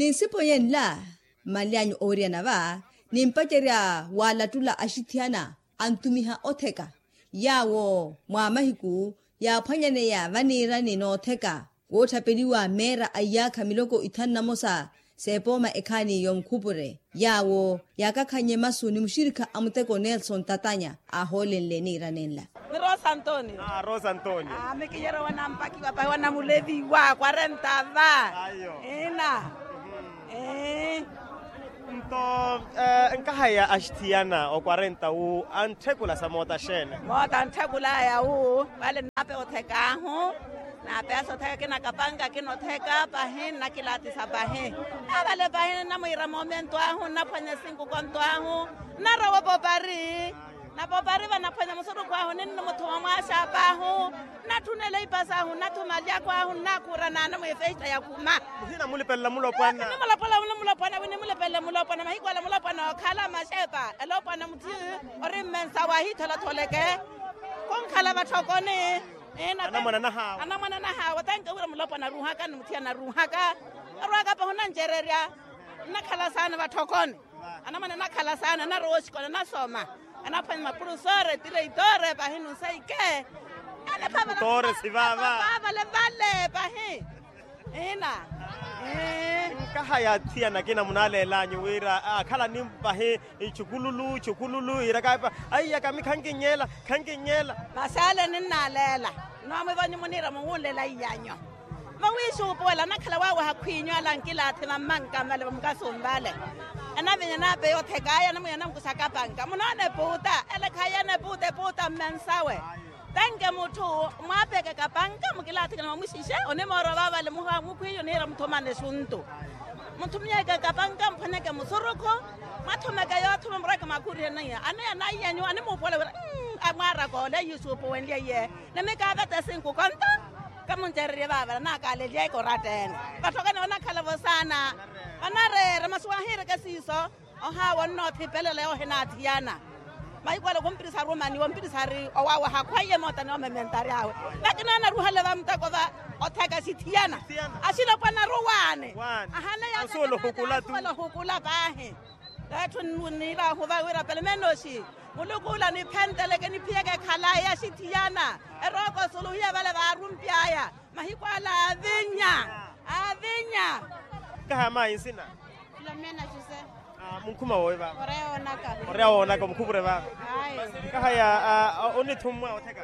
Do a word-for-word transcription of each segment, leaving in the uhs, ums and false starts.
Ni nsipo yenla mmalyanyu oweryana va nimpacerya walattula axithiyana antumiha otheka yaawo mwa mahiku yaaphwanyaneya vaniirani nootheka wootthapeliwa meera a iyaakha miloko ithanu na mosa seepooma ekhaani yonkhupure yaawo yaakakhannye masu ni muxirikha a muteko nelson tatanya aahoolenle niira nenla. Ni rosa antonio. Rosa antonio. Mikinyeryo wanampakiwa pahi wanamuleviwa kwarenta va. Ina. Nto nkahaya axithiyana okwarenta wu antthekula sa moota xeene? Moota antthekulaya wu vale naape othekaahu. Naape asa otheka kinakapanka kinotheka pahi nnakilaatisa pahi. Avale pahi nnamwiira moomentu ahu nnaphwanya esinkukonto ahu. Nnarowa opopari. Napopari vanaphwanya musurukhu ahu ninno muthuma mwaaxaapa ahu. Nnatthunela ipasa ahu nnathuma alyakho ahu nnakhuura naana mwifesta yakhuma. Muhina mulipelela mulopwana. Nimulopwana nimulopwana wi nimulipelele mulopwana mahiku ala mulopwana okhala maxepa elopwana muthi ori mmensa wahiitholathole ke. Khunkhala vatthokoni. Anamwana nahaawe tanke wira mulopwana aruuhaka ni muthiyana aruuhaka. Arwaka pahi onnancererya. Nnakhala saana vatthokoni. Anamwana anakhala saana anarowa oxikola anasoma. Anaphwanya mapurusore tireitore pahi nunsaike. Anaphavale vale pahi. Ina. Nkahaya athiyana akina munaleelanyu wira akhala ni pahi. Ichukululu ichukululu iiraka aiya kami khankinyeela. Khankinyeela. Maxaale ninnaleela. Nnoomwivonyi muniira muwunlela iyanyu. Vawiixuupuwela anakhala waawaha khwiinyu ala ankilaathi vammanka vale vamukasumpale. Anavinya naapeya othekaya anamwinya anankusaka panka munoona epuuta. Ele khaiyana epuuta epuuta mmensawe. Tanke mutthu mwaapekeka panka mukilaathikana mwamuxixe onimoorova vale mukhwiiyo niira muthumane exuntu. Mutthu munyekeka panka muphwanyeke musurukhu. Mwathumeke yoothuma murweke mwakhurihene iye aneya naiyanyu animuupuwela wira. Amwaaraka ole yusuupuwenlye iye. Ni mikaavete esinkukonto. Kamuncererye vaavela naakaalelyeeke oratta-ene. Vatthokani vanakhala-vo saana. Vanareera masi wahiireke siiso. Ohaawa onnoothipelele ohinaathiyana. Mahiku ale khumpirisa rumani wompirisa ari owawaha khwaiye moota ni omementa ari awe. Lakini anaruhale vamuteko va otheka axithiyana. Axilopwana aruwaane. Ahaneya asuwela ohukula paahi. Etthu niiraahu vawiira pelemenoxi. Muluku ula niphenteleke niphiyeke ekhalayi axithiyana. Erooko suluhiya vale vaarumpyaya. Mahiku ala aavinya. Aavinya. Kaha mayi nsina. Filomena jose. Munkhuma woowi vaava. Oreya woonaka omukhupure vaava. Ayo. Kaha ya. Onithummwa otheka.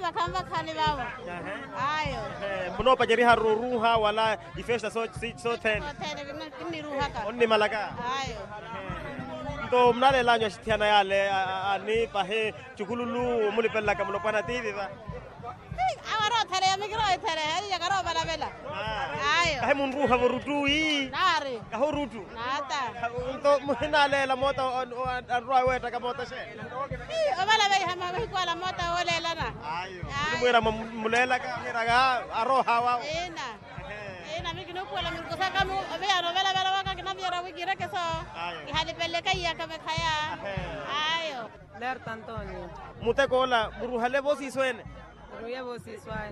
Vakhanvakhani vaavo. Ayo. Munoopaceriharu oruuha wala ifesta sothene. Kinniruuhaka. Onnimalaka. Ayo. Nto munaleelanyu axithiyana yale. Ani pahi cukululu omulipelelaka mulopwana tiivi va. Awo arootheleya mikirootheleya iyaka aroovalavela. Ayo. Kahi munruuha vorutu ii. Naari. Kahi orutu. Naata. Nto muhinaleela moota anrwa weettaka moota xe. Ovalaveiha mahiku ala moota wooleelana. Ayo. Munimwiira muleelaka mwiraka arooha wawo. Ina. Ina mikinuupuwela mirukusaka oviyana ovalavela waka kinaviyana wikirekeso. Ihalipeleke iyaka vekhaya. Ayo. Lerta antonio. Muteko ola muruhale voosiiso ene. Muruye voosiiso aya.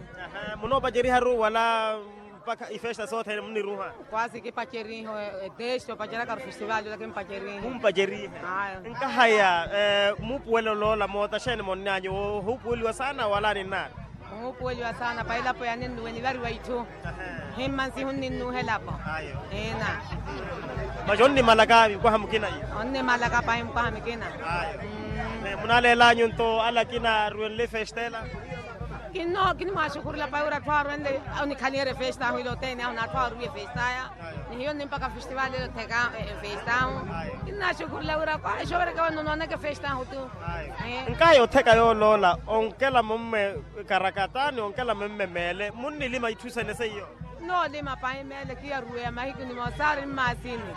Munoopaceriharu wala mpakha ifesta sothene muniruha. Kwasi kipaceriho. Etesti opacerakaru festivali ola kimpacerihe. Kumpacerihe. Nkahaya. Muupuwelo loola moota xeene monnanyu ohuupuweliwa saana wala ninnaari. Ohuupuweliwa saana pahilapo yaninnuwe nivariwa itthu. Himma nsihu nninnuuhelapo. Ina. Masi onnimalaka mukwaha mukina. Onnimalaka pahi mukwaha mukina. Munaleelanyu nto ala akina aruwenle efesta ela. Kinno kinimwaxukhurela pahi wira atthu aruwenle. Onikhaliherya efesta ahu ile othene ahu n'atthu aruwiye efesta aya. Ni hiyo nimpaka festivali ela otheka efesta ahu. Kinnaxukhurela wira kwaxovereke wano nooneke efesta ahu tu. Nkahi otheka yooloola onkela mumme. Karakatani onkela memme meele munnilima itthu sene seiyo. Noolima pahi meele kiyaruweya mahiku nimosaari mmaasini.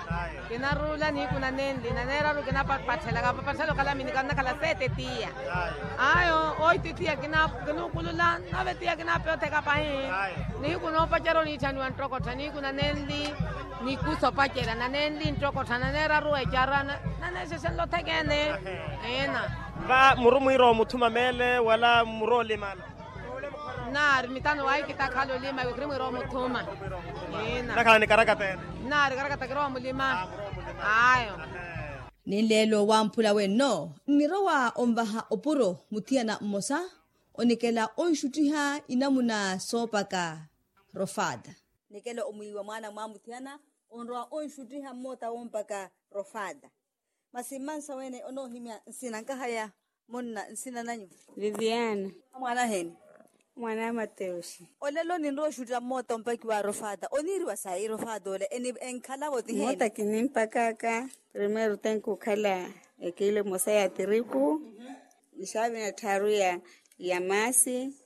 Kinaruula nihiku nanenli naneeraru kinapapatthela kapapatthela okhala mini kannakhala seete tiya. Ayo oitti tiya kinuukulula nave tiya kinapeya otheka pahi. Nihiku noopacerya oniitthaniwa nttokottha nihiku nanenli. Nikusa opacerya nanenli nttokottha naneeraru ecara naneexexenle othekene. Ina. Va muru mwiira omuthuma meele wala muru olimala. Nnaari mitano wahi kitakhala olima wikhiri mwirowa omuthuma. Ina. Nakhala ni karakata ene. Nnaari karakata kirowa mulima. Ayo. Ninleelo wamphula wenno nnirowa onvaha opuro muthiyana mmosa onikela onxuttiha inamuna soopaka. Rofada nikela omwiiwa mwaana mwa muthiyana onrowa onxuttiha mmoota wompaka. Rofada. Masi mmansa wene onoohimya nsina nkahaya munna nsina nanyu? Viviana. Mwaana aheeni? Mwaana a mateuxi. Olelo ninrowa oxuttira mmoota ompakiwa a rofada oniiriwa sayi rofada ole? Enkhalavo ti heeni? Mmoota kinimpakaka. Primeiro tenke okhala ekilo emosa ya tiriku, nixaavina ettharu ya maasi.